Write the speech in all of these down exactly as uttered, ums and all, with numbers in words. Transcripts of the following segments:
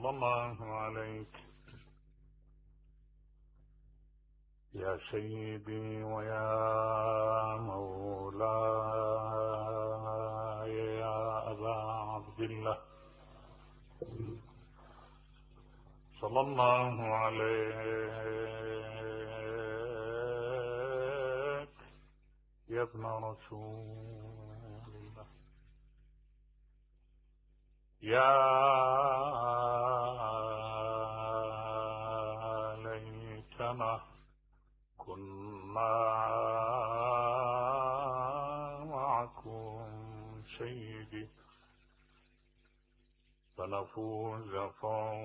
صلى الله عليك يا سيدي ويا مولاي يا أبا عبد الله، صلى الله عليك يا ابن رسول الله، يا ليتنا كنا معكم سيدي فنفوز فوزا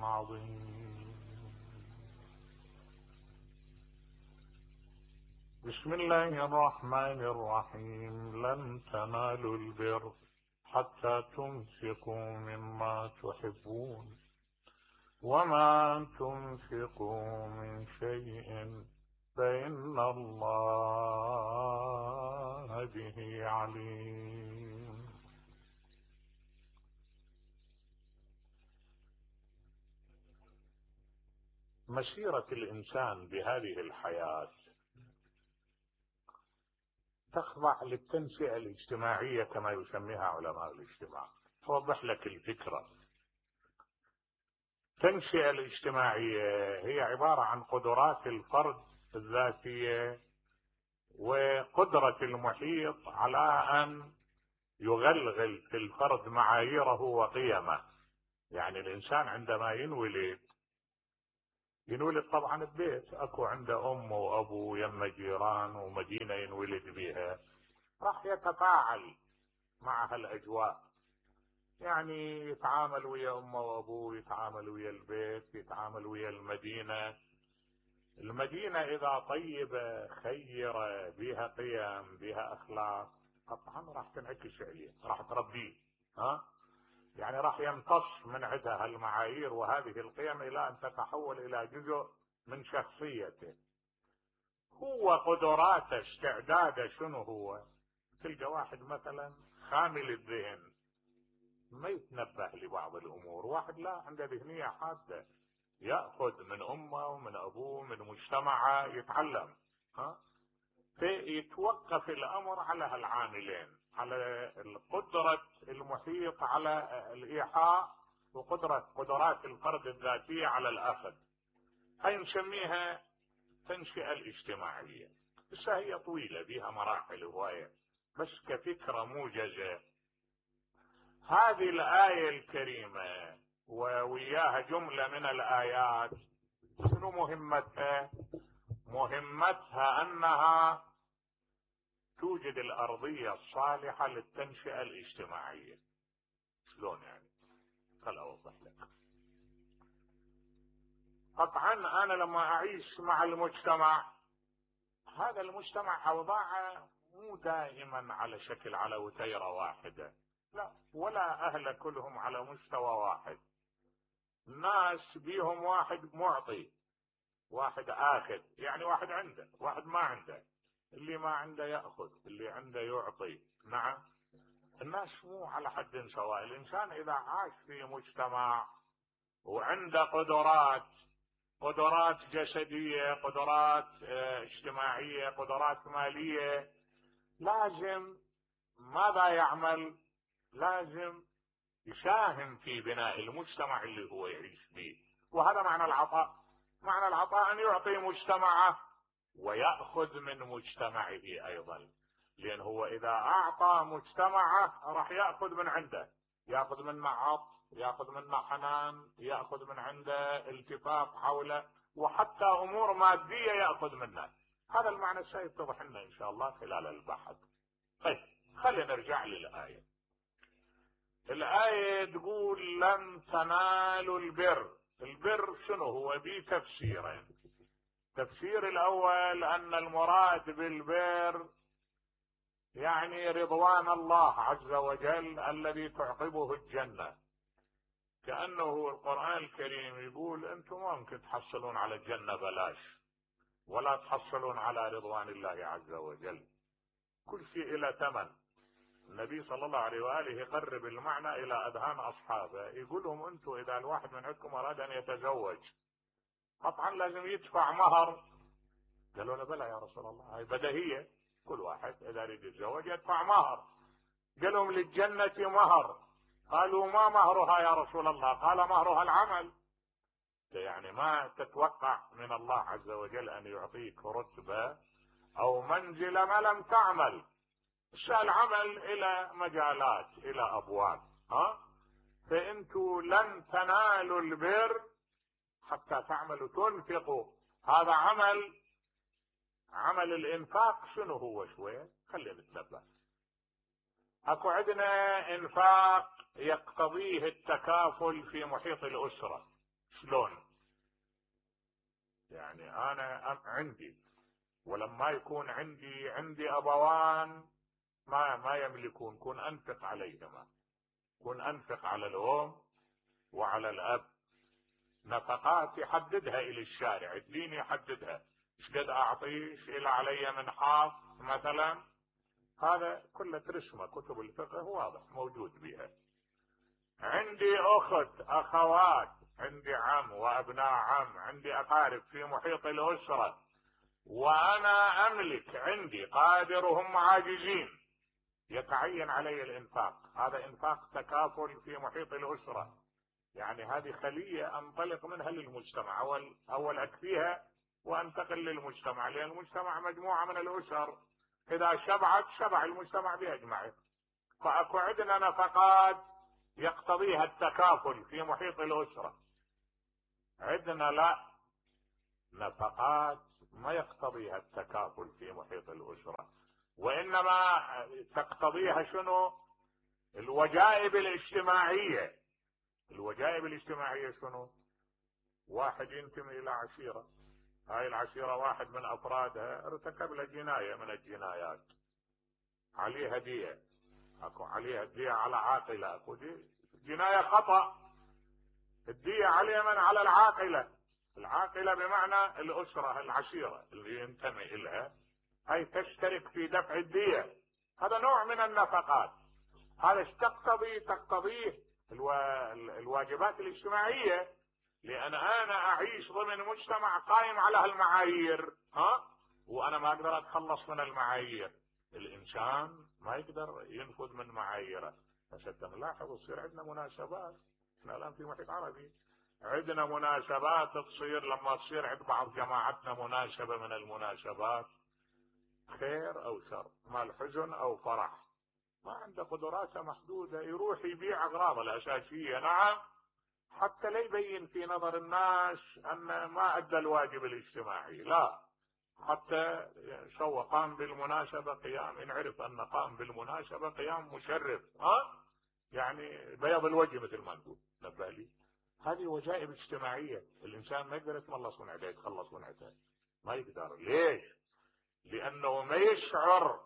عظيما. بسم الله الرحمن الرحيم. لن تنالوا البر حتى تنفقوا مما تحبون وما تنفقوا من شيء فإن الله به عليم. مسيرة الإنسان بهذه الحياة تخضع للتنشئة الاجتماعية كما يسميها علماء الاجتماع. توضح لك الفكرة. التنشئة الاجتماعية هي عبارة عن قدرات الفرد الذاتية وقدرة المحيط على أن يغلغل في الفرد معاييره وقيمه. يعني الإنسان عندما ينولد ينولد طبعا ببيت، اكو عنده ام وابو يم جيران ومدينة ينولد بها، راح يتفاعل مع هالاجواء، يعني يتعامل ويا امه وابوه، يتعامل ويا البيت، يتعامل ويا المدينة. المدينة اذا طيبة خيرة بها قيم بها اخلاق طبعا راح تنعكس عليه، راح تربيه، ها يعني راح يمتص من عندها المعايير وهذه القيم الى ان تتحول الى جزء من شخصيته. هو قدراته استعداده شنو هو؟ تلقى واحد مثلا خامل الذهن ما يتنبه لبعض الامور، واحد لا عنده ذهنية حادة يأخذ من امه ومن ابوه من مجتمعه يتعلم، ها فيتوقف الامر على هالعاملين، على قدرة المحيط على الايحاء وقدرة قدرات الفرد الذاتية على الاخذ. هاي نسميها تنشئة الاجتماعية. بس هي طويلة بها مراحل هواية، بس كفكرة موجزة هذه الآية الكريمة ووياها جملة من الآيات شنو مهمتها؟ مهمتها انها توجد الارضية الصالحة للتنشئة الاجتماعية. شلون يعني؟ خل اوضح لك. طبعا انا لما اعيش مع المجتمع، هذا المجتمع اوضاعه مو دائما على شكل على وتيرة واحدة، لا، ولا اهل كلهم على مستوى واحد. الناس بيهم واحد معطي واحد آخذ، يعني واحد عنده واحد ما عنده، اللي ما عنده يأخذ اللي عنده يعطي. نعم، الناس مو على حد سواء. الإنسان إذا عاش في مجتمع وعنده قدرات قدرات جسدية، قدرات اجتماعية، قدرات مالية، لازم ماذا يعمل؟ لازم يساهم في بناء المجتمع اللي هو يعيش به. وهذا معنى العطاء. معنى العطاء أن يعطي مجتمعه ويأخذ من مجتمعه أيضا، لأن هو إذا أعطى مجتمعه راح يأخذ من عنده، يأخذ منا عطف، يأخذ منا حنان، يأخذ من عنده التفاف حوله، وحتى أمور مادية يأخذ منها. هذا المعنى سيتضح لنا إن شاء الله خلال البحث. طيب خلينا نرجع للآية. الآية تقول لن تنالوا البر. البر شنو هو؟ بتفسيرين. التفسير الأول أن المراد بالبر يعني رضوان الله عز وجل الذي تعقبه الجنة، كأنه القرآن الكريم يقول أنتم ما ممكن تحصلون على الجنة بلاش، ولا تحصلون على رضوان الله عز وجل، كل شيء إلى ثمن. النبي صلى الله عليه وآله يقرب المعنى إلى أذهان أصحابه، يقول لهم أنتم إذا الواحد من عندكم أراد أن يتزوج قطعا لازم يدفع مهر. قالوا له بلى يا رسول الله، هاي بديهية، كل واحد إذا يريد يتزوج يدفع مهر. قال لهم للجنة مهر. قالوا ما مهرها يا رسول الله؟ قال مهرها العمل. يعني ما تتوقع من الله عز وجل أن يعطيك رتبة أو منزلة ما لم تعمل. العمل إلى مجالات، إلى أبواب، ها؟ فأنتوا لن تنالوا البر حتى تعملوا، تنفقوا. هذا عمل. عمل الإنفاق شنو هو؟ شوية خلينا نتنبه. أكو عندنا إنفاق يقتضيه التكافل في محيط الأسرة. شلون؟ يعني أنا عندي، ولما يكون عندي عندي أبوان ما ما يملكون، كن أنفق عليهما، كن أنفق على الأم وعلى الأب. نفقات يحددها إلى الشارع، الدين يحددها، ايش قد أعطيه، ايش إلى علي من حاط مثلا. هذا كله ترسمه كتب الفقه واضح موجود بها. عندي أخت، أخوات، عندي عم وأبناء عم، عندي أقارب في محيط الأسرة، وأنا أملك، عندي قادر وهم عاجزين، يتعين علي الإنفاق. هذا إنفاق تكافل في محيط الأسرة. يعني هذه خلية أنطلق منها للمجتمع، أول أول أكفيها وأنتقل للمجتمع، لأن المجتمع مجموعة من الأسر، إذا شبعت شبع المجتمع بأجمعه. فأكو عندنا نفقات يقتضيها التكافل في محيط الأسرة، عندنا لا، نفقات ما يقتضيها التكافل في محيط الأسرة، وإنما تقتضيها شنو؟ الوجائب الاجتماعية. الوجائب الاجتماعية شنو؟ واحد ينتمي إلى عشيرة، هاي العشيرة واحد من أفرادها ارتكب له جناية من الجنايات، عليه هدية، أكو عليه هدية على عاقلة، أكو دي جناية خطأ، الدية عليه من؟ على العاقلة. العاقلة بمعنى الأسرة العشيرة اللي ينتمي إليها، هي تشترك في دفع الدية. هذا نوع من النفقات. هذا تقتضي تقتضيه الو... الواجبات الاجتماعية، لأن أنا أعيش ضمن مجتمع قائم على هالمعايير، ها؟ وأنا ما أقدر أتخلص من المعايير. الإنسان ما يقدر ينفذ من معاييره. فحتى نلاحظ تصير عندنا مناسبات. احنا الآن في محيط عربي عندنا مناسبات تصير، لما تصير عند بعض جماعتنا مناسبة من المناسبات، خير أو شر، مال حزن أو فرح، ما عنده قدراته محدودة، يروح يبيع أغراضه الأساسية، نعم، حتى لا يبين في نظر الناس أن ما أدى الواجب الاجتماعي، لا، حتى سوى قام بالمناسبة قيام، إن عرف أن قام بالمناسبة قيام مشرف، ها؟ يعني بياض الوجه مثل ما نقول، نبه لي. هذه وجائب اجتماعية، الإنسان ما يقدر يتخلص من عدها، يتخلص من عدها، ما يقدر. ليش؟ لأنه ما يشعر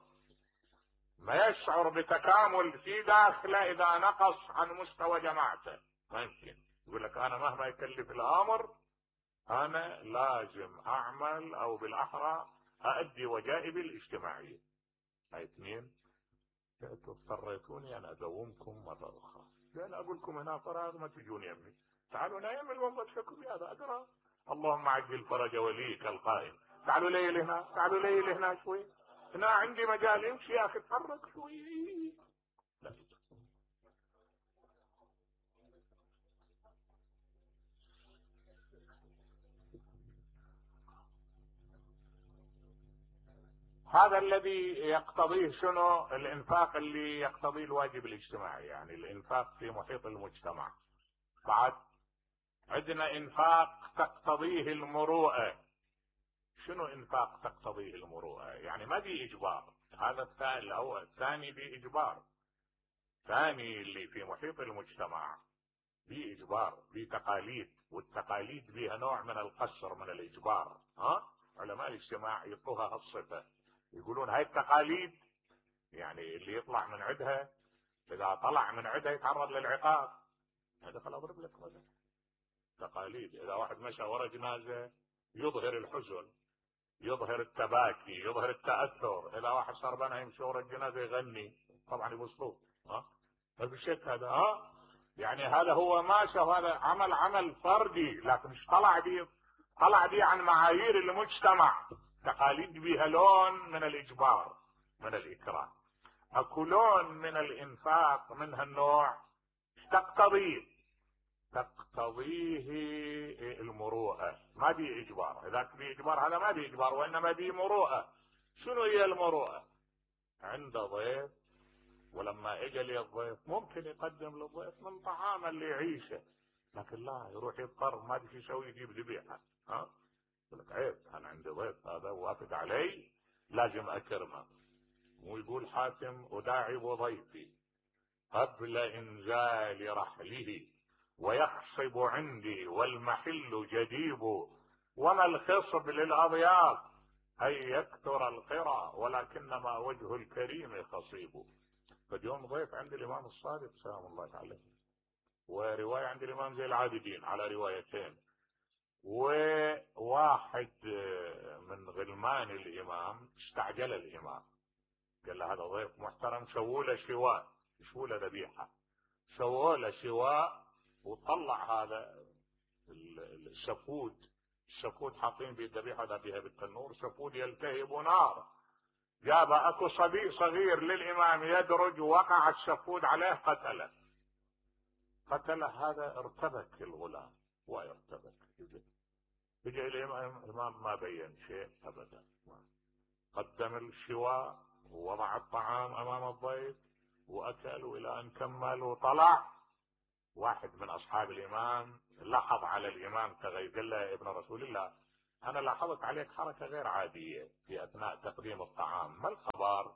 ما يشعر بتكامل في داخله إذا نقص عن مستوى جماعته. ما يمكن يقول لك أنا مهما يكلف الأمر أنا لازم أعمل، أو بالأحرى أؤدي وجائبي الاجتماعية. هاي اثنين. اضطريتوني أن أدومكم مرة أخرى، لأن أقول لكم هنا فراغ ما تجون يمي، تعالوا نايم المنبت لكم بهذا أقرأ اللهم عجل فرج وليك القائم، تعالوا ليل هنا، تعالوا ليل هنا شوي، هنا عندي مجال يمشي يا أخي، تحرك شوي. لا. هذا الذي يقتضيه شنو؟ الإنفاق اللي يقتضيه الواجب الاجتماعي، يعني الإنفاق في محيط المجتمع. بعد عندنا إنفاق تقتضيه المروءة. شنو إنفاق تقتضيه المروءة؟ يعني ما دي إجبار، هذا الثاني الأول، الثاني دي إجبار، ثاني اللي في محيط المجتمع دي إجبار، دي تقاليد، والتقاليد بها نوع من القصر من الإجبار، ها؟ علماء الاجتماع يعطوها هالصفة، يقولون هاي التقاليد يعني اللي يطلع من عدها، إذا طلع من عدها يتعرض للعقاب. هذا خل أضرب لك مثلا تقاليد، إذا واحد مشى ورا جنازة يظهر الحزن، يظهر التباكي، يظهر التأثر. اذا واحد صار بنا يمشي ورا الجنازة يغني طبعا يبسطوه. ها ما في شك هذا. ها يعني هذا هو ماشى، وهذا عمل عمل فردي، لكن مش طلع دي طلع دي عن معايير المجتمع. تقاليد بها لون من الاجبار، من الاكراه. اكو لون من الانفاق من هالنوع تقتضيه تقتضيه المروءة، ما بي اجبار. اذا بي اجبار هذا ما بي اجبار، وانما بي مروءة. شنو هي المروءة؟ عند ضيف، ولما اجى لي الضيف ممكن يقدم للضيف من طعام اللي يعيشه، لكن لا يروح يضطر ما ادري شو يسوي، يجيب ذبيحه. ها يقول لك عيب، انا عندي ضيف هذا وافد علي لازم اكرمه. ويقول حاتم اداعب ضيفي قبل انزال رحله، ويخصب عندي والمحل جديب، وما الخصب للاضياف ان يكثر القرى، ولكنما وجه الكريم خصيب. فاليوم ضيف عند الامام الصادق سلام الله عليه، ورواية عند الامام زي العابدين على روايتين، وواحد من غلمان الامام استعجل الامام، قال له هذا ضيف محترم، سووا له شواء، سووا له ذبيحه، سووا له شواء، وطلع هذا الشفود، الشفود حاطين به الذبيحه هذا بها بالتنور، شفود يلتهب نار. جاب اكو صبي صغير للامام يدرج، وقع الشفود عليه قتله. قتله هذا ارتبك الغلام ويرتبك. يجي الامام ما بين شيء ابدا، قدم الشواء ووضع الطعام امام الضيف واكل الى ان كمل وطلع. واحد من اصحاب الامام لاحظ على الامام تغير، قال له يا ابن رسول الله انا لاحظت عليك حركه غير عاديه في اثناء تقديم الطعام، ما الخبر؟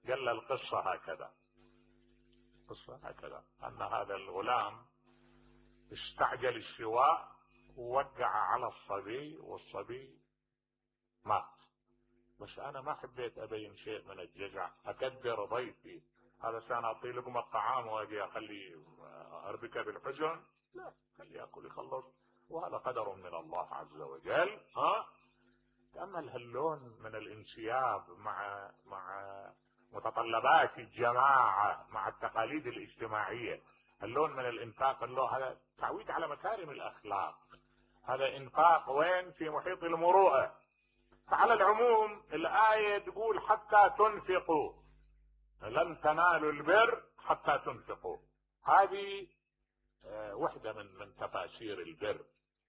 قال له القصه هكذا، القصه هكذا ان هذا الغلام استعجل الشواء ووقع على الصبي والصبي مات، بس انا ما حبيت ابين شيء من الجزع، اكدر ضيفي، هذا سان اعطي لقمه الطعام واجي اخلي اربكه بالحزن؟ لا، خليه ياكل يخلص، وهذا قدر من الله عز وجل. ها تأمل هاللون من الانسياب مع مع متطلبات الجماعه، مع التقاليد الاجتماعيه، اللون من الانفاق، اللون هذا تعويد على مكارم الاخلاق، هذا انفاق وين؟ في محيط المروءه. فعلى العموم الآية تقول حتى تنفقوا، لن تنالوا البر حتى تنفقوا. هذه وحدة من من تفاسير البر.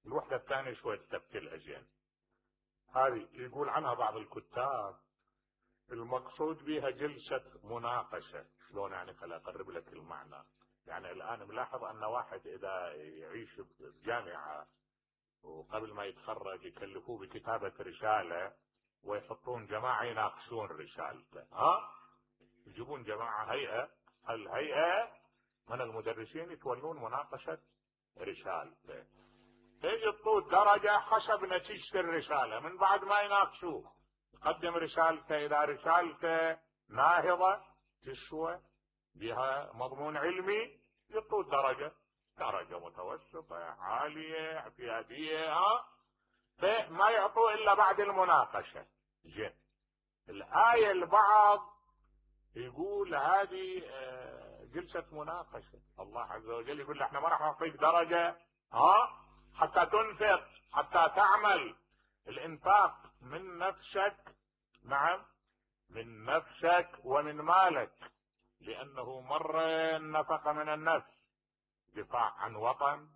الوحدة الثانية شوية تبكي الأجين، هذه يقول عنها بعض الكتاب المقصود بها جلسة مناقشة. شلون يعني؟ خليني أقرب لك المعنى. يعني الآن ملاحظ أن واحد إذا يعيش بجامعة وقبل ما يتخرج يكلفوه بكتابة رسالة، ويحطون جماعة يناقشون رسالته. ها يجيبون جماعة هيئة، الهيئة من المدرسين يتولون مناقشة رسالته، تيجي تطول درجة حسب نتيجة الرسالة. من بعد ما يناقشوه يقدم رسالته، إذا رسالته ناهضة تسوى بها مضمون علمي يطول درجة، درجة متوسطة عالية اعتيادية، ها فما يعطوه إلا بعد المناقشة. زين الآية البعض يقول هذه جلسة مناقشة، الله عز وجل يقول له احنا ما راح نعطيك درجة ها حتى تنفق، حتى تعمل. الانفاق من نفسك، نعم من نفسك ومن مالك، لأنه مرة النفقة من النفس، دفاع عن وطن،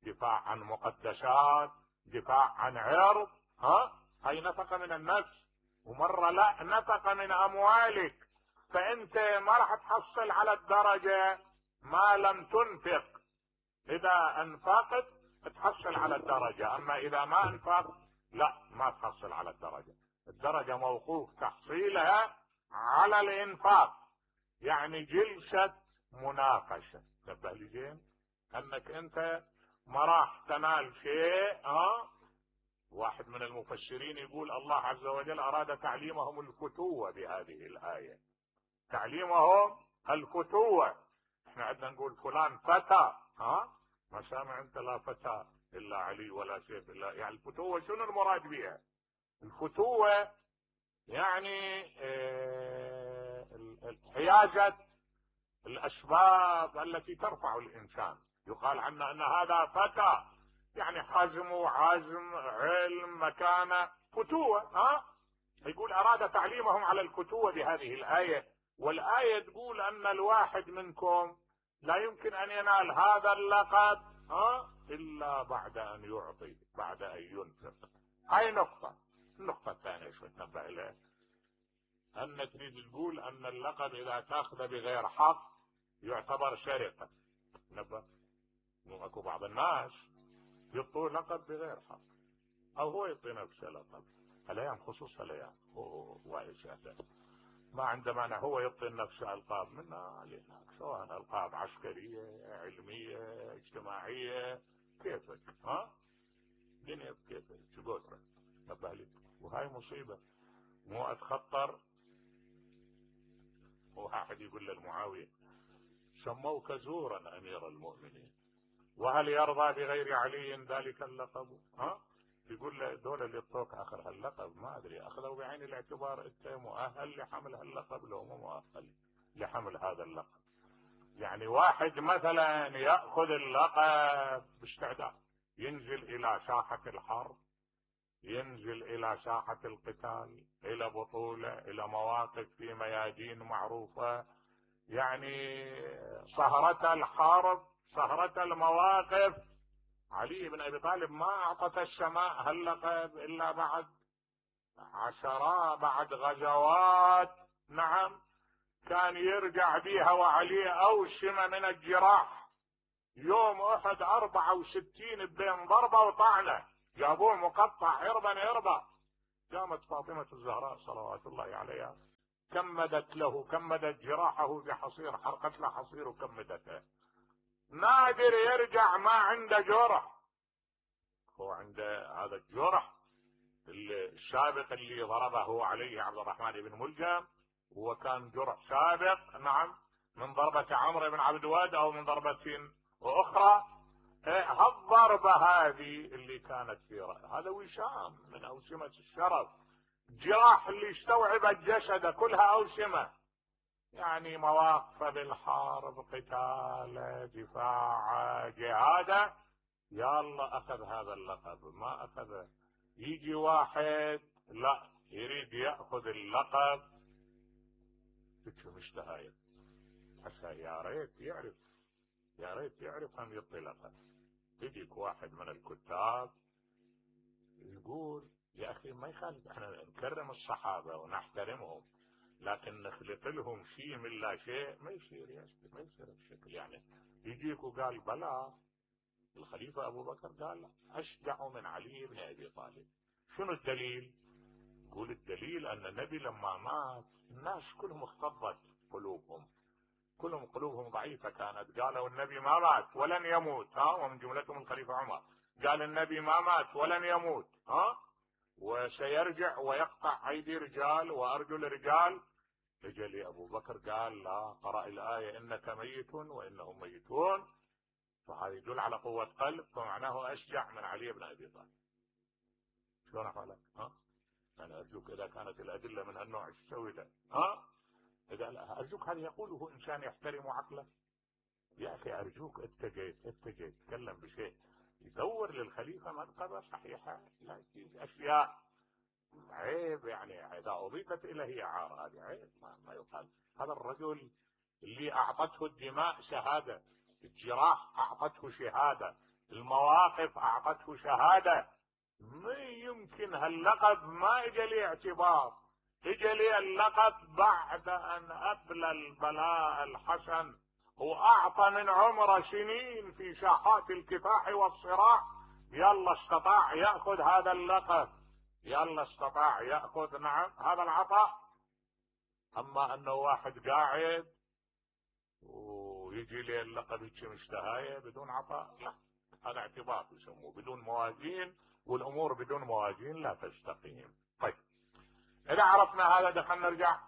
دفاع عن مقدسات، دفاع عن عرض، ها هاي نفقة من النفس. ومرة لا، نفقة من أموالك، فأنت ما راح تحصل على الدرجة ما لم تنفق. إذا أنفقت تحصل على الدرجة، أما إذا ما أنفقت لا، ما تحصل على الدرجة. الدرجة موقوف تحصيلها على الإنفاق. يعني جلسة مناقشة، تنبه لي زين أنك أنت ما راح تنال شيء. ها واحد من المفسرين يقول الله عز وجل أراد تعليمهم الفتوة بهذه الآية، تعليمهم الفتوة. احنا عندنا نقول فلان فتى، ها ما سامع انت لا فتى الا علي ولا سيف الا، يعني الفتوة شنو المراد بها؟ الفتوة يعني حيازة الأسباب التي ترفع الإنسان. يقال عنه أن هذا فتى، يعني حزم وعزم، علم، مكانة، فتوة. ها يقول أراد تعليمهم على الفتوة بهذه الآية. والآية تقول أن الواحد منكم لا يمكن أن ينال هذا اللقب ها إلا بعد أن يعطي، بعد أن ينفق. هاي نقطة. النقطة الثانية شو تنبه إليه، أن تريد تقول أن اللقب إذا تأخذ بغير حق يعتبر سرقة. نبه، مو أكو بعض الناس يعطوه لقب بغير حق، أو هو يعطي نفسه لقب. هالأيام خصوص هالأيام وايد ما عنده مانع هو يعطي نفسه ألقاب منا لهناك، سواء ألقاب عسكرية، علمية، اجتماعية، كيفك. ها دنيا بكيفك شو قدرك. نبه لي، وهاي مصيبة مو أتخطر. واحد يقول للمعاوية سموك زورا أمير المؤمنين، وهل يرضى بغير علي ذلك اللقب؟ ها يقول له دول اللي يعطوك اخر هاللقب ما ادري اخذوا بعين الاعتبار انت مؤهل لحمل هاللقب لو مو مؤهل لحمل هذا اللقب. يعني واحد مثلا ياخذ اللقب باستعداد، ينزل الى ساحة الحرب، ينزل الى ساحة القتال، الى بطولة، الى مواقف في ميادين معروفة، يعني سهرة الحرب، سهرة المواقف. علي بن ابي طالب ما اعطت السماء هاللقب الا بعد عشرات، بعد غزوات. نعم كان يرجع بيها وعليه اوشمة من الجراح. يوم احد اربعة وستين بين ضربة وطعنة، جابوه مقطع عربا عربا. قامت فاطمة الزهراء صلوات الله عليها كمدت له، كمدت جراحه بحصير، حرقت له حصير وكمدته. نادر يرجع ما عنده جرح، هو عنده هذا الجرح السابق اللي ضربه عليه عبد الرحمن بن ملجم، وكان جرح سابق. نعم من ضربة عمرو بن عبد الواد او من ضربة اخرى. هالضربة هذه اللي كانت في رأي هذا وشام من اوشمة الشرف، جراح اللي استوعبت جسده كلها اوشمة، يعني مواقف بالحرب، قتال، دفاع، جهاد. يا الله اخذ هذا اللقب ما اخذه. يجي واحد لا يريد ياخذ اللقب تشو مشتهاية، حتى يا ريت يعرف، يا ريت يعرف ان يعطي لقب. يجيك واحد من الكتاب يقول يا اخي ما يخالف، احنا نكرم الصحابه ونحترمهم، لكن نخلق لهم شيء من لا شيء ما يصير، يا ما يصير بشكل. يعني يجيك وقال بلا الخليفة أبو بكر قال أشجع من علي بن أبي طالب. شنو الدليل؟ يقول الدليل أن النبي لما مات الناس كلهم اختضت قلوبهم، كلهم قلوبهم ضعيفة كانت. قالوا النبي ما مات ولن يموت، ها ومن جملتهم الخليفة عمر قال النبي ما مات ولن يموت، ها وسيرجع ويقطع أيدي رجال وأرجل رجال. اجى لي أبو بكر قال لا، قرأ الآية إنك ميت وإنهم ميتون، فهذا يدل على قوة قلب، فمعناه أشجع من علي بن أبي طالب. شلون أفعلك؟ ها؟ أنا أرجوك إذا كانت الأدلة من هالنوع ايش تسوي له؟ ها؟ إذا أرجوك هذا يقوله إنسان يحترم عقله. يا أخي أرجوك اتجيت اتجيت تكلم بشيء يدور للخليفة منقبة صحيحة، لا يجيز أشياء عيب. يعني إذا أضيفت إليه عار هذه عيب، ما, ما يقال. هذا الرجل اللي أعطته الدماء شهادة، الجراح أعطته شهادة، المواقف أعطته شهادة. ما يمكن هاللقب ما إجا لي اعتبار، إجا لي اللقب بعد أن أبلى البلاء الحسن وأعطى من عمره سنين في ساحات الكفاح والصراع. يلا استطاع يأخذ هذا اللقب، يلا استطاع يأخذ نعم هذا العطاء. أما أنه واحد قاعد ويجي لي اللقب يجي مشتهاية بدون عطاء، لا هذا اعتبار يسموه بدون موازين، والأمور بدون موازين لا تستقيم. طيب إذا عرفنا هذا دخلنا نرجع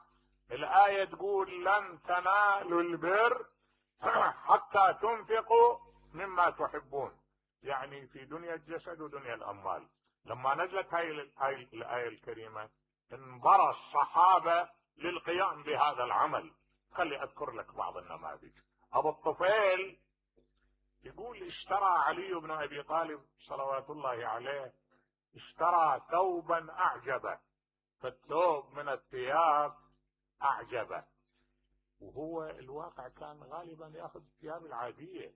الآية تقول لن تنالوا البر حتى تنفقوا مما تحبون، يعني في دنيا الجسد ودنيا الأموال. لما نزلت هاي هاي الآية الكريمة انبرى الصحابة للقيام بهذا العمل. خلي أذكر لك بعض النماذج. أبو الطفيل يقول اشترى علي بن أبي طالب صلوات الله عليه، اشترى ثوبا أعجبه، فالثوب من الثياب أعجبه، وهو الواقع كان غالبا يأخذ الثياب العادية،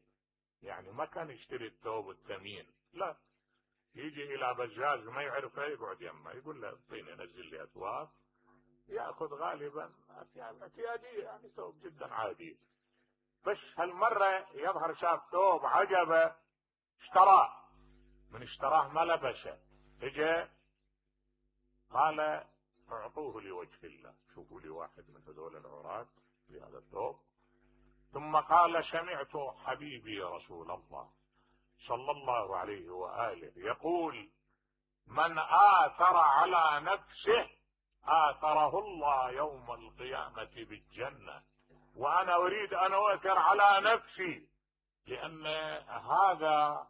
يعني ما كان يشتري الثوب الثمين، لا، يجي إلى بزاز ما يعرفه يقعد يمه يقول له اعطيني نزل لي أثواب، يأخذ غالبا أثياب اعتيادية، يعني ثوب جدا عادي. بس هالمرة يظهر شاف ثوب عجبه اشتراه، من اشتراه ما لبسه، اجى قال اعطوه لوجه الله، شوفوا لي واحد من هذول العراة بهذا الثوب. ثم قال سمعت حبيبي رسول الله صلى الله عليه وآله يقول من آثر على نفسه آثره الله يوم القيامة بالجنة، وأنا أريد أن أؤثر على نفسي، لأن هذا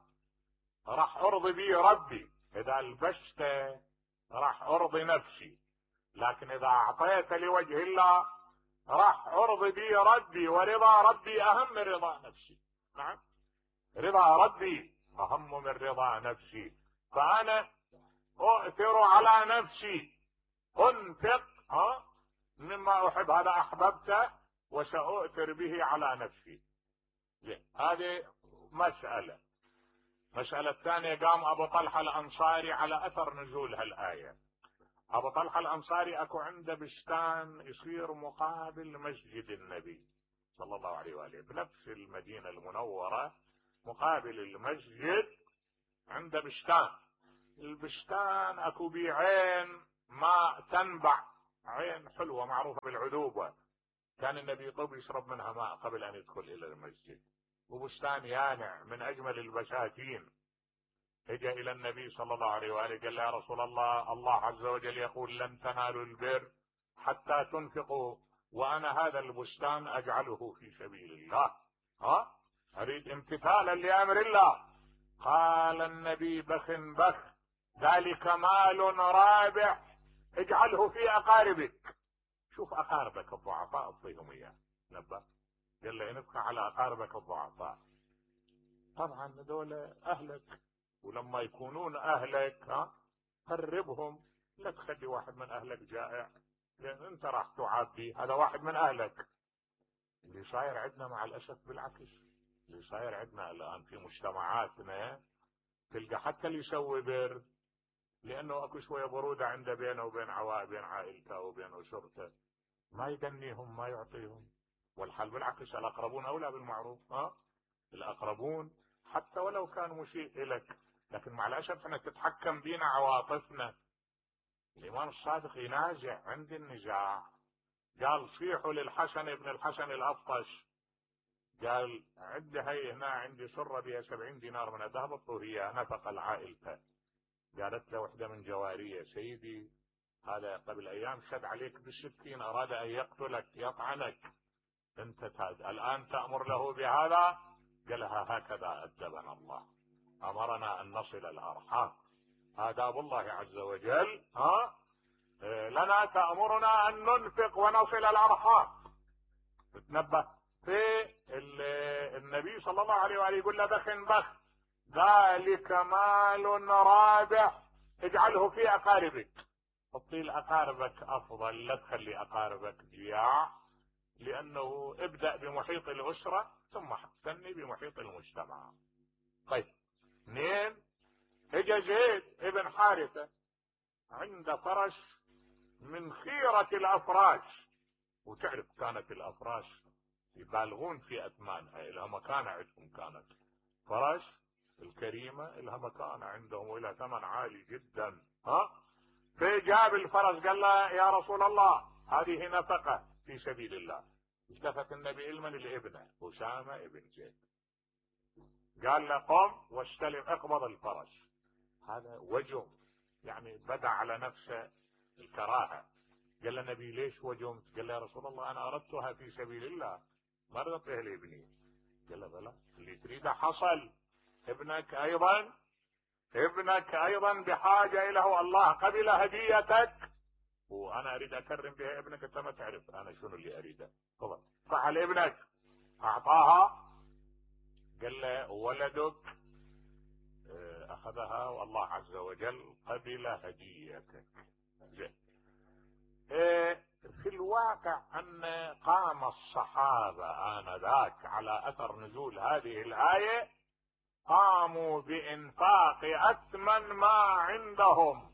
راح أرضي به ربي، إذا لبسته راح أرضي نفسي، لكن إذا أعطيت لوجه الله راح أرضي به ربي، ورضا ربي أهم من رضا نفسي. نعم، رضا ربي أهم من رضا نفسي، فأنا أؤثر على نفسي، أنفق ها مما أحب، هذا أحببته وسأؤثر به على نفسي. هذه مسألة. مسألة الثانية، قام أبو طلحة الأنصاري على أثر نزول هالآية. أبو طلحة الأنصاري أكو عنده بستان يصير مقابل مسجد النبي صلى الله عليه وآله بنفس المدينة المنورة، مقابل المسجد عنده بستان. البستان أكو بيه عين ماء تنبع، عين حلوة معروفة بالعذوبة، كان النبي يطب يشرب منها ماء قبل أن يدخل إلى المسجد، وبستان يانع من أجمل البساتين. اجى إلى النبي صلى الله عليه وآله قال يا رسول الله، الله عز وجل يقول لن تنالوا البر حتى تنفقوا، وأنا هذا البستان أجعله في سبيل الله، ها أريد امتثالا لأمر الله. قال النبي بخ بخ، ذلك مال رابح اجعله في أقاربك. شوف أقاربك الضعفاء اعطيهم إياه، نبه قال له انفق على أقاربك الضعفاء. طبعا هذول أهلك، ولما يكونون أهلك ها قربهم، لا تخلي واحد من أهلك جائع، لأن أنت راح تعبي، هذا واحد من أهلك. اللي صاير عندنا مع الأسف بالعكس، اللي صاير عندنا الآن في مجتمعاتنا تلقى حتى اللي يسوي بر، لأنه أكو شوية برودة عنده بينه وبين عوائل، بين عائلته وبين أسرته، ما يدنيهم ما يعطيهم، والحال بالعكس، الأقربون أولى بالمعروف، ها الأقربون حتى ولو كان مسيء إليك، لكن مع الأسف احنا تتحكم بينا عواطفنا. الإمام الصادق ينازع عند النزاع، قال صيحوا للحسن ابن الحسن الأفطش، قال عد هي هنا عندي سرة بها سبعين دينار من الذهب الطهية نفقة العائلة. قالت له وحدة من جوارية سيدي هذا قبل أيام شد عليك بالسكين، أراد أن يقتلك يطعنك، أنت تاد. الآن تأمر له بهذا؟ قالها هكذا أدبنا الله، أمرنا أن نصل الأرحام، آداب الله عز وجل، ها لنا تأمرنا أن ننفق ونصل الأرحام. تتنبه في النبي صلى الله عليه وآله يقول له بخ بخ، ذلك مال رابح اجعله في أقاربك. حطي لأقاربك أفضل، لا تخلي أقاربك جياع، لأنه ابدأ بمحيط الأسرة ثم ثني بمحيط المجتمع. طيب اثنين، اجى زيد ابن حارثة عند فرس من خيرة الأفراش، وتعرف كانت الأفراش يبالغون في أثمانها، إلها مكانة عندهم، كانت فرس الكريمة إلها مكانة عندهم وإلها ثمن عالي جدا، ها فجاب الفرس قال له يا رسول الله هذه نفقة في سبيل الله. التفت النبي المن لابنه أسامة ابن زيد، قال له قم واستلم اقبض الفرس. هذا وجه، يعني بدا على نفسه الكراهة. قال له النبي ليش وجمت؟ قال له يا رسول الله أنا أردتها في سبيل الله ما رضيتها لابني. قال له بلى اللي تريده حصل، ابنك أيضا ابنك ايضا بحاجة اليه، والله قبل هديتك وانا اريد اكرم بها ابنك، انت ما تعرف انا شنو اللي اريده. تفضل فعل ابنك، اعطاها، قال له ولدك اخذها والله عز وجل قبل هديتك. زين. في الواقع ان قام الصحابة انذاك على اثر نزول هذه الاية، قاموا بانفاق اثمن ما عندهم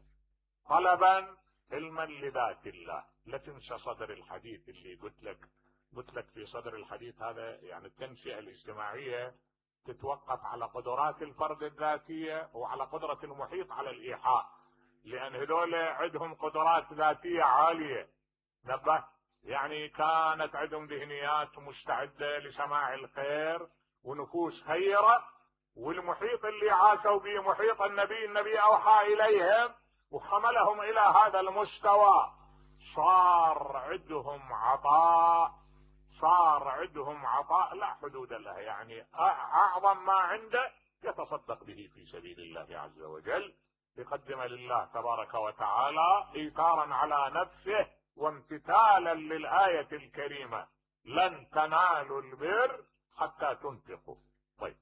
طلبا علما لذات الله. لا تنسى صدر الحديث اللي قلت لك قلت لك في صدر الحديث هذا، يعني التنشئة الاجتماعية تتوقف على قدرات الفرد الذاتية وعلى قدرة المحيط على الإيحاء، لأن هذول عندهم قدرات ذاتية عالية. نبه، يعني كانت عندهم ذهنيات مستعدة لسماع الخير ونفوس خيرة، والمحيط اللي عاشوا به محيط النبي، النبي أوحى إليهم وحملهم إلى هذا المستوى. صار عندهم عطاء، صار عندهم عطاء لا حدود له، يعني أعظم ما عنده يتصدق به في سبيل الله عز وجل، يقدم لله تبارك وتعالى إيثارا على نفسه وامتثالا للآية الكريمة: لن تنالوا البر حتى تنفقوا. طيب،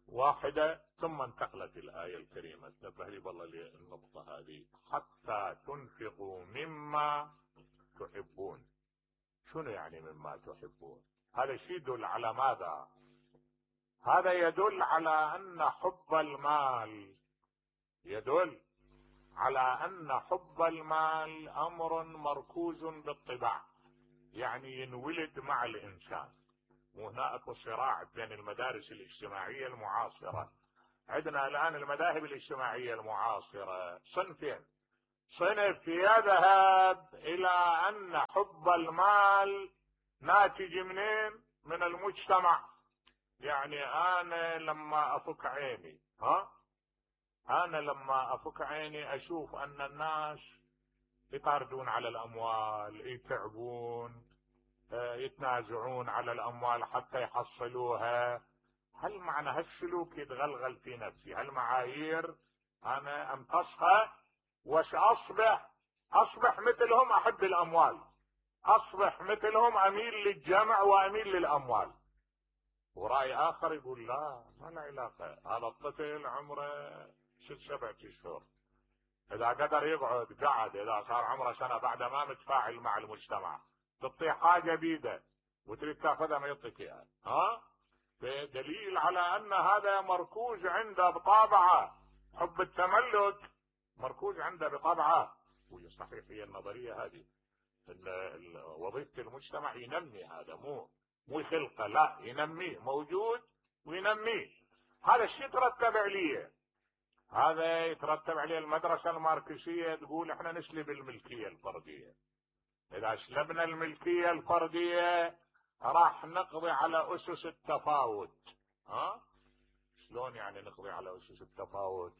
واحدة ثم انتقلت الآية الكريمة، انتبه لي والله للنقطة هذه: حتى تنفقوا مما تحبون. شنو يعني مما تحبون؟ هذا الشيء يدل على ماذا؟ هذا يدل على أن حب المال يدل على أن حب المال أمر مركوز بالطباع، يعني ينولد مع الإنسان. وهناك صراع بين المدارس الاجتماعية المعاصرة. عندنا الآن المذاهب الاجتماعية المعاصرة صنفين: صنف يذهب إلى أن حب المال ناتج منين؟ من المجتمع. يعني أنا لما أفك عيني ها أنا لما أفك عيني أشوف أن الناس يطاردون على الأموال، يتعبون، يتنازعون على الأموال حتى يحصلوها. هل معنى هالسلوك يتغلغل في نفسي هالمعايير أنا أمتصها وش أصبح أصبح مثلهم، أحب الأموال، أصبح مثلهم، أميل للجمع وأميل للأموال. ورأي آخر يقول لا، ما له علاقة، هذا الطفل عمره ست سبع اشهر، إذا قدر يقعد قعد، إذا صار عمره سنة بعد ما متفاعل مع المجتمع، تعطيه حاجة بيده وتريد تاخذها ما يعطيك اياها. ها؟ دليل على أن هذا مركوز عنده بطابعه، حب التملك مركوز عنده بطبعه. وهي صحيح، هي النظرية هذه وظيفة المجتمع ينمي هذا، مو مو يخلقه، لا ينميه، موجود وينميه. هذا الشيء يترتب عليه، هذا يترتب عليه المدرسة الماركسية تقول احنا نسلب الملكية الفردية. اذا سلبنا الملكية الفردية راح نقضي على اسس التفاوت. ها؟ شلون يعني نقضي على اسس التفاوت؟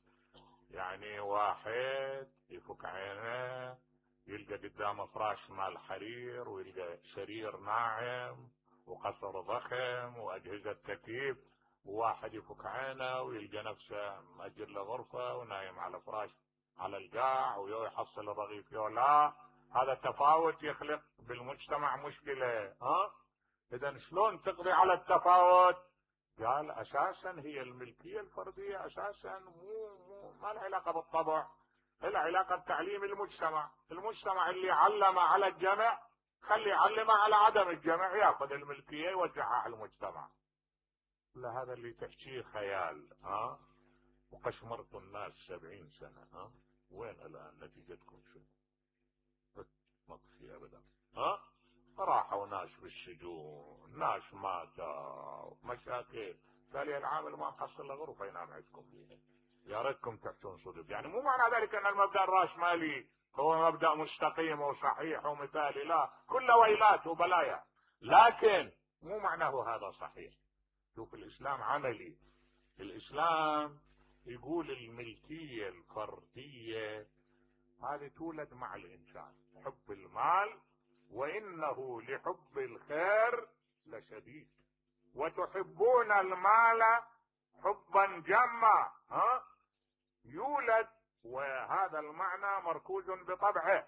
يعني واحد يفك عينه يلقى قدامه فراش مال حرير، ويلقى سرير ناعم وقصر ضخم واجهزة تكييف، وواحد يفك عينه ويلقى نفسه مأجر له غرفة ونايم على فراش على القاع ويحصل الرغيف. لا، هذا تفاوت يخلق بالمجتمع مشكلة. ها؟ اذا شلون تقضي على التفاوت؟ قال اساسا هي الملكية الفردية اساسا مو مو ما لها علاقة بالطبع، لها علاقة بتعليم المجتمع. المجتمع اللي علم على الجمع خلي يعلمه على عدم الجمع، ياخذ الملكية يوزعها على المجتمع. لا، هذا اللي تحكيه خيال. ها؟ وقشمرت الناس سبعين سنة. ها؟ وين الان نتيجتكم؟ شو ما في ابدا. ها؟ راحوا ناس بالسجون، ناس ماتوا، مشاكل. قال لي العامل ما محصل له غرفة ينام عندكم فيها، يا ريتكم تحتون صدق. يعني مو معنى ذلك ان المبدأ الراسمالي هو مبدأ مستقيم وصحيح ومثالي، لا، كله ويلات وبلايا، لكن مو معناه هذا صحيح. شوف الاسلام عملي، الاسلام يقول الملكية الفردية هذه تولد مع الانسان، حب المال وانه لحب الخير لشديد، وتحبون المال حبا جما ها يولد، وهذا المعنى مركوز بطبعه،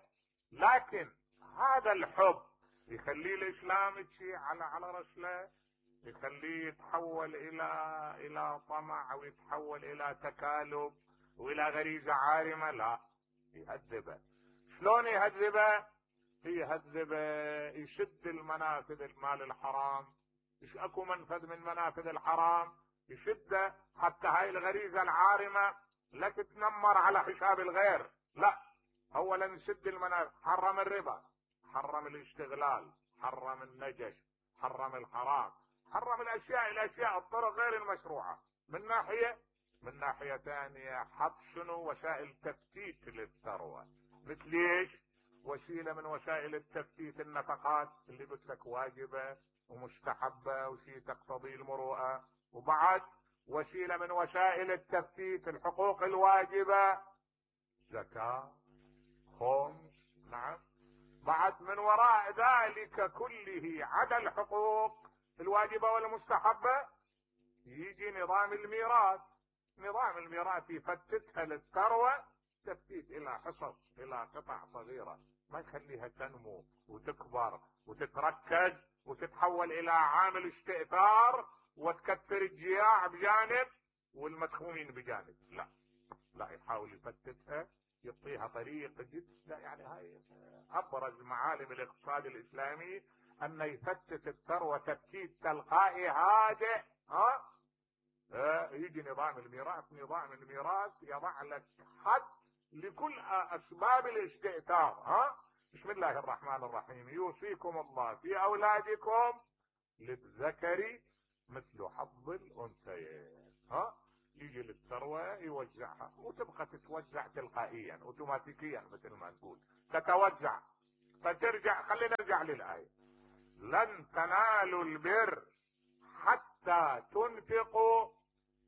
لكن هذا الحب يخليه الاسلام يمشي على على رسله، يخليه يتحول الى الى طمع او يتحول الى تكالب والى غريزه عارمه، لا، يهذبه. شلون يهذبه؟ يهذبه يشد المنافذ المال الحرام، ايش اكو منفذ من منافذ الحرام يشده حتى هاي الغريزه العارمه لا تتنمر على حساب الغير، لا، اولا يشد المنافذ، حرم الربا، حرم الاشتغلال، حرم النجش، حرم الحرام، حرم الاشياء الاشياء الطرق غير المشروعه من ناحيه، من ناحيه ثانيه حط شنو؟ وسائل تفتيت للثروه. مثل ايش؟ وسيله من وسائل التفتيت النفقات اللي قلت لك واجبه ومستحبه وشيء تقتضي المروءه، وبعد وسيله من وسائل التفتيت الحقوق الواجبه، زكاه، خمس، نعم. بعد من وراء ذلك كله عدا الحقوق الواجبه والمستحبه يجي نظام الميراث. نظام الميراث يفتتها للثروه تفتيت الى حصص، الى قطع صغيره، ما يخليها تنمو وتكبر وتتركز وتتحول الى عامل استئثار وتكثر الجياع بجانب والمدخومين بجانب، لا لا، يحاول يفتتها، يعطيها طريق جدا. يعني هاي ابرز معالم الاقتصاد الاسلامي، ان يفتت الثروه تفتيت تلقائي هادئ. ها اه يجي نظام الميراث، نظام الميراث يضع لك حد لكل اسباب الاستئثار. ها بسم الله الرحمن الرحيم، يوصيكم الله في اولادكم للذكر مثل حظ الانثيين. ها يجي للثروه يوزعها وتبقى تتوزع تلقائيا اوتوماتيكيا مثل ما نقول، تتوزع فترجع. خلينا نرجع للايه: لن تنالوا البر حتى تنفقوا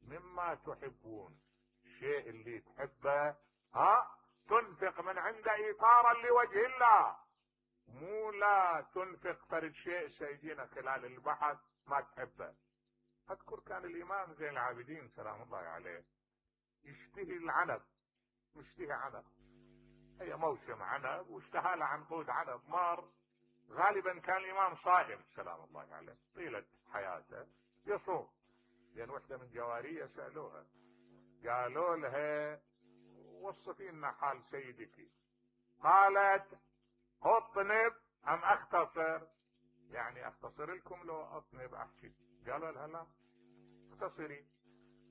مما تحبون. الشيء اللي تحبه ها تنفق من عند ايثارا لوجه الله، مو لا تنفق فرد شيء سيجينا خلال البحث ما تحبه. اذكر كان الامام زين العابدين سلام الله عليه يشتهي العنب، يشتهي عنب، هي موسم عنب واشتهى له عنقود عنب مار. غالبا كان الامام صائم سلام الله عليه طيلة حياته يصوم، لان وحده من جواريه سالوها قالوا لها وصفي لنا حال سيدك، قالت اطنب ام اختصر؟ يعني اختصر لكم لو اطنب احكي؟ قالوا لها لا اختصري.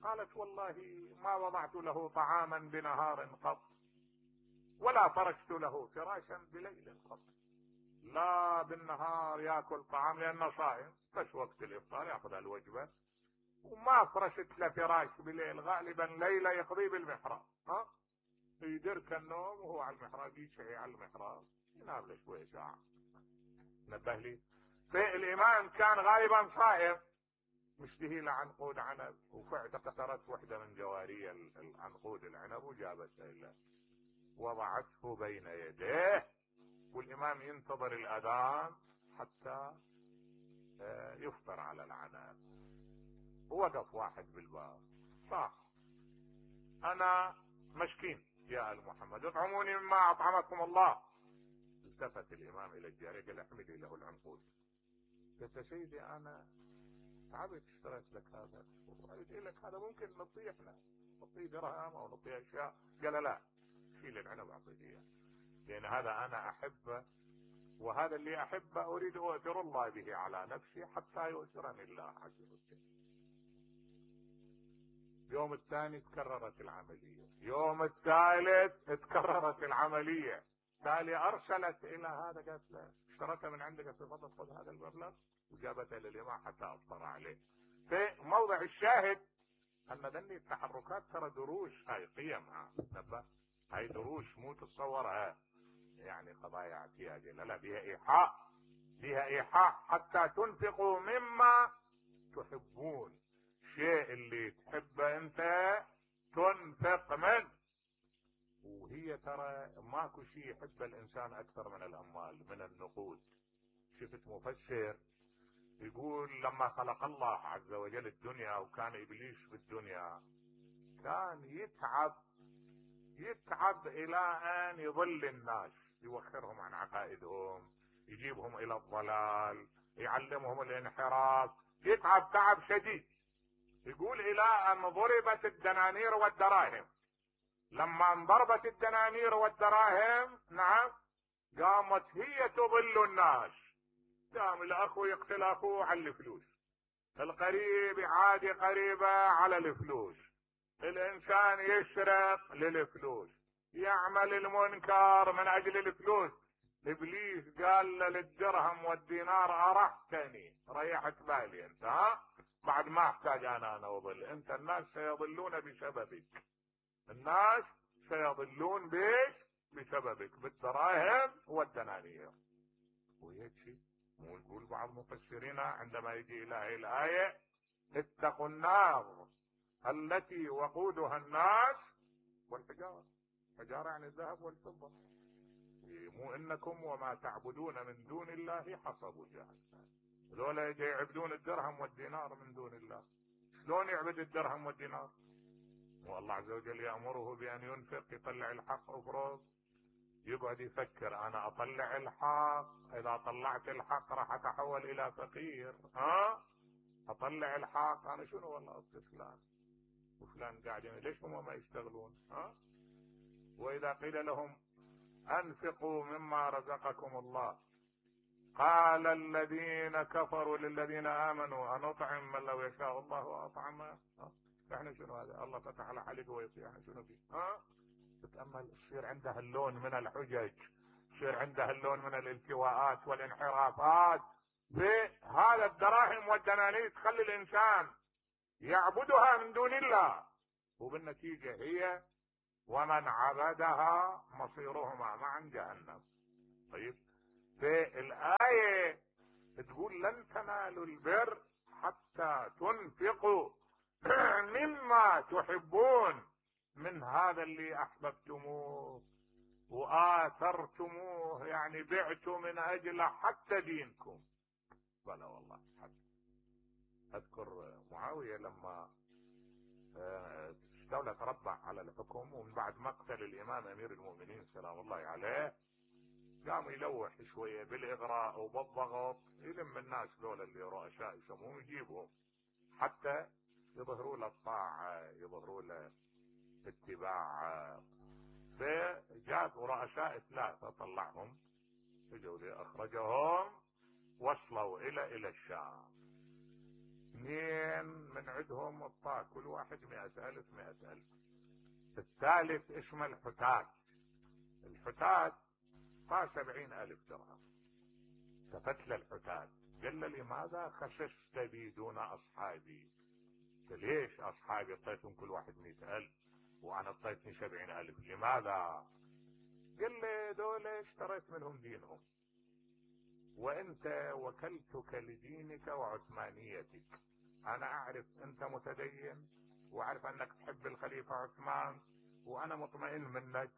قالت والله ما وضعت له طعاما بنهار قط ولا فرشت له فراشا بليل قط. لا بالنهار ياكل طعام لانه صائم، بس وقت الافطار ياخذ الوجبه، وما فرشت له فراش بليل، غالبا ليله يقضي بالمحراب. ها يدرك النوم وهو على المحراب، يشعي على المحراب ينام له شويه ساعه. نبه لي فالامام كان غالبا صائم مشتهي له عنقود عنب، وفعلا اقترت وحده من جواري العنقود العنب وجابته له وضعته بين يديه، والامام ينتظر الاذان حتى يفطر على العنب. ووقف واحد بالباب صح انا مسكين يا ال محمد اطعموني مما اطعمكم الله. التفت الامام الى الجاريه قال احمدي له العنقود. قلت يا سيدي انا تعبت اشتريت لك هذا وقلت لك هذا ممكن نعطيه احنا، نعطيه درهم او نعطيه اشياء. قال لا شيل العنب اعطيه اياه، لان هذا انا احبه، وهذا اللي احبه اريد اؤثر الله به على نفسي حتى يؤثرني الله عز وجل. يوم الثاني تكررت العملية، يوم الثالث تكررت العملية، تالي ارسلت الى هذا قالت له اشتريتها من عندك تفضل خذ هذا المبلغ، وجابتها للامام حتى افطر عليه. في موضع الشاهد ان ذني التحركات ترى دروس، هاي قيمها نبه، هاي دروس مو تتصورها يعني قضايا اعتيادية، لا لا بها ايحاء، بها ايحاء حتى تنفقوا مما تحبون. الشيء اللي تحبه انت تنفق منه. وهي ترى ماكو شيء يحبه الانسان اكثر من الاموال، من النقود. شفت مفسر يقول لما خلق الله عز وجل الدنيا وكان ابليس بالدنيا كان يتعب يتعب الى ان يضل الناس، يوخرهم عن عقائدهم، يجيبهم الى الضلال، يعلمهم الانحراف، يتعب تعب شديد. يقول الى ان ضربت الدنانير والدراهم. لما انضربت الدنانير والدراهم نعم قامت هي تضل الناس. قام الاخو يقتل اخوه على الفلوس، القريب يعادي قريبه على الفلوس، الانسان يسرق للفلوس، يعمل المنكر من اجل الفلوس. ابليس قال له للدرهم والدينار ارحتني، ريحت بالي انت، ها بعد ما احتاج انا انا اضل انت، الناس سيضلون بسببك، الناس سيضلون بيش بسببك بالدراهم والدنانير. وهيك شيء مو يقول بعض مفسرين عندما يجي الى هذه الايه اتقوا النار التي وقودها الناس والحجاره، حجاره يعني الذهب والفضه، مو انكم وما تعبدون من دون الله حصب جهنم. ذولا يجي يعبدون الدرهم والدينار من دون الله، شلون يعبد الدرهم والدينار؟ والله عز وجل يأمره بأن ينفق، يطلع الحق افرض، يقعد يفكر انا اطلع الحق، اذا طلعت الحق راح اتحول الى فقير، ها اطلع الحق انا شنو والله اصل فلان وفلان قاعدين ليش هم ما يشتغلون؟ ها واذا قيل لهم انفقوا مما رزقكم الله قال الذين كفروا للذين امنوا انطعم من لو يشاء الله اطعمه. احنا شنو هذا؟ الله فتح على حلقه ويطيع، احنا شنو فيه؟ ها تتامل يصير عنده اللون من الحجج، يصير عنده اللون من الالتواءات والانحرافات بهذا الدراهم والدنانير، تخلي الانسان يعبدها من دون الله، وبالنتيجه هي ومن عبدها مصيرهما معا جهنم. طيب في الآية تقول لن تنالوا البر حتى تنفقوا مما تحبون، من هذا اللي احببتموه وآثرتموه، يعني بعتوا من اجل حتى دينكم. بلى والله حتى. اذكر معاوية لما استولى تربع على الحكم، ومن بعد مقتل الامام امير المؤمنين سلام الله عليه قام يلوح شوية بالاغراء وبالضغط، يلم الناس ذولا اللي رؤساء يسموهم يجيبهم حتى يظهروا له الطاعة، يظهروا له اتباع. فجاب رؤساء ثلاثة طلعهم، اجوا اخرجهم، وصلوا الى الى الشام. اثنين من عندهم اعطاه كل واحد مئة الف مئة الف. الثالث اسمه الحتات، الحتات اعطاه سبعين الف درهم. ففتل الحتات قال له لماذا خسست بي دون اصحابي؟ ليش اصحابي اعطيتهم كل واحد مئة الف وانا اعطيتني سبعين الف، لماذا؟ قال لي دول اشتريت منهم دينهم، وانت وكلتك لدينك وعثمانيتك. انا اعرف انت متدين واعرف انك تحب الخليفة عثمان وانا مطمئن منك،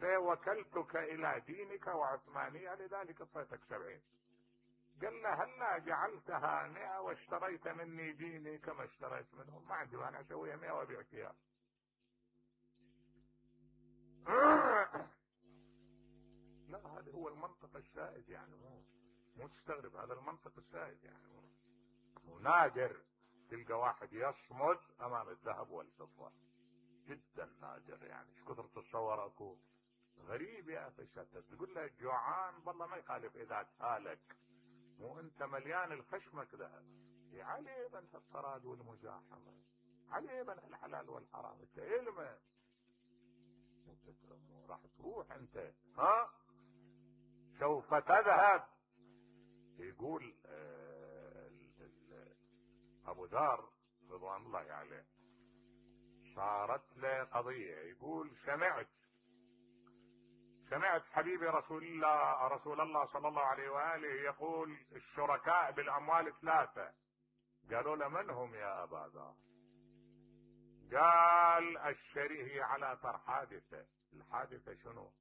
فوكلتك الى دينك وعثمانية لذلك اعطيتك سبعين. قال له هلا جعلتها مئة واشتريت مني ديني كما اشتريت منهم؟ ما عندي مانع اسويها مئة وابيع فيها. لا هذا هو المنطق السائد، يعني مو مو تستغرب، هذا المنطق السائد، يعني مو نادر تلقى واحد يصمد امام الذهب والفضة، جدا نادر. يعني ايش كثر تتصور اكو غريب يا اخي شتت، تقول له جوعان والله ما يخالف اذا تهالك، مو انت مليان الخشمك ذهب. عليه من الطراد والمزاحمة، عليه من الحلال والحرام، انت علمه راح تروح انت، ها سوف تذهب. يقول آه ابو ذر رضوان الله عليه صارت له قضية، يقول سمعت سمعت حبيبي رسول الله رسول الله صلى الله عليه وآله يقول الشركاء بالأموال ثلاثة. قالوا له من هم يا أبا ذر؟ قال الشريه على طر حادثة. الحادثة شنو؟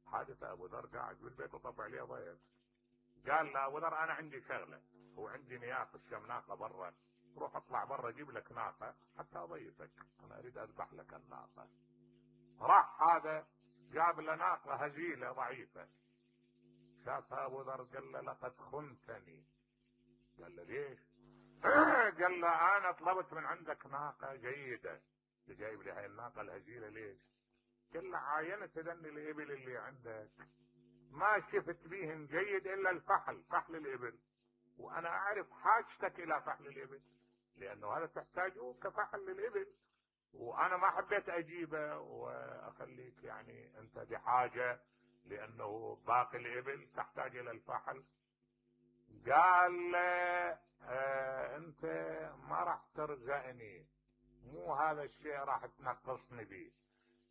حادثة أبو ذر قاعد بالبيت وطبع عليه ضيف، قال له ابو ذر انا عندي شغله، وعندي نياقه كم ناقه برا، روح اطلع برا جيب لك ناقه حتى اضيفك، انا اريد اذبح لك الناقه. راح هذا جاب له ناقه هزيله ضعيفه، شافها ابو ذر قال له لقد خنتني. قال له ليش؟ قال له انا طلبت من عندك ناقه جيده، جايب لي هاي الناقه الهزيله ليش؟ قال له عاينت ذن الابل اللي عندك ما شفت بيهم جيد الا الفحل، فحل الابل، وانا اعرف حاجتك الى فحل الابل، لانه هذا تحتاجه كفحل للابل، وانا ما حبيت اجيبه واخليك يعني انت بحاجه، لانه باقي الابل تحتاج الى الفحل. قال اه انت ما راح ترزقني، مو هذا الشيء راح تنقصني به.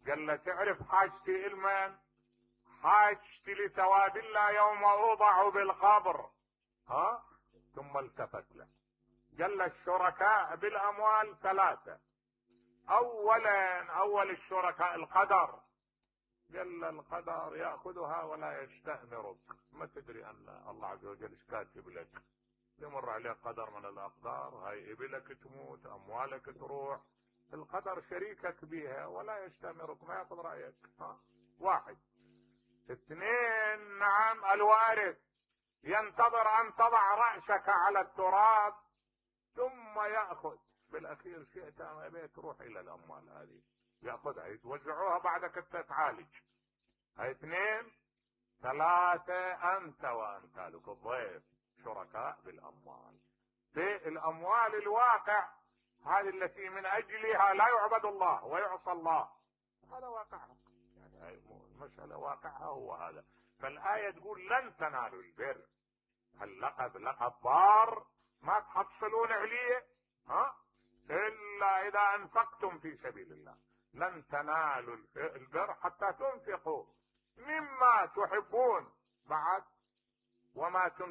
قال له تعرف حاجتي المن؟ حاجتي لثواب الله يوم اوضع بالقبر. ها؟ ثم التفت له قال له الشركاء بالاموال ثلاثه، اولا اول الشركاء القدر. قال له القدر ياخذها ولا يستأمرك، ما تدري ان الله عز وجل ايش كاتب لك، يمر عليك قدر من الاقدار، هاي ابلك تموت، اموالك تروح، القدر شريكك بها ولا يستأمرك، ما ياخذ رايك. ها؟ واحد. اثنين، نعم الوارث ينتظر ان تضع رأسك على التراب ثم يأخذ بالاخير شئت ام ابيت تروح الى الاموال هذه ياخذها يتوزعوها بعدك تتعالج. هاي اثنين. ثلاثة انت وامثالك الضيف شركاء بالاموال. في الاموال الواقع هذه التي من اجلها لا يعبد الله ويعصى الله، هذا واقعها، يعني هاي المسألة واقعها هو هذا. فالآية تقول لن تنالوا البر، اللقب لقب بار ما تحصلون عليه ها الا اذا انفقتم في سبيل الله، لن تنالوا البر حتى تنفقوا مما تحبون بعد وما تنفقوا